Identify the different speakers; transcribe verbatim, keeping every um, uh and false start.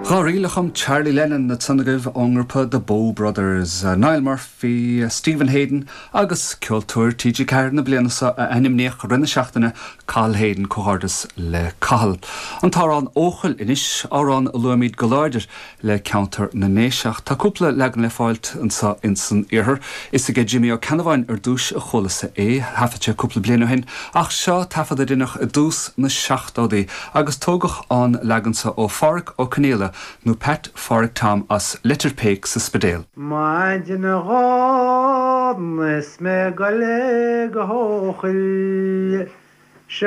Speaker 1: Dhá ríl a chum Charlie Lennon ansan agaibh ón ngrúpa The Bow Brothers, Niall Murphy, Stephen Hayden agus ceoltóir TG Ceathair na bliana seo a ainmníodh i rith na seachtaine Cathal Hayden comhghairdeas le Cathal. An t-amhrán Eochaill anois amhrán a luaimid go láidir le ceantar na nDéise. Tá cúpla leagan le fáilt anseo insan iarthar. Is aige Jimmy Ó Ceannabháin ar dtús a chualas é thaifead sé cúpla bliain ó shin ach seo taifead a rinneadh i dtús na seachtóidí agus tógadh an leagan seo ó Phádhraic Ó Conghaile nó Pat Phádhraic Tom as Leitir Péic sa Spidéal.
Speaker 2: Maidin Dhomhnaigh is mé ag goil go hEochaill Se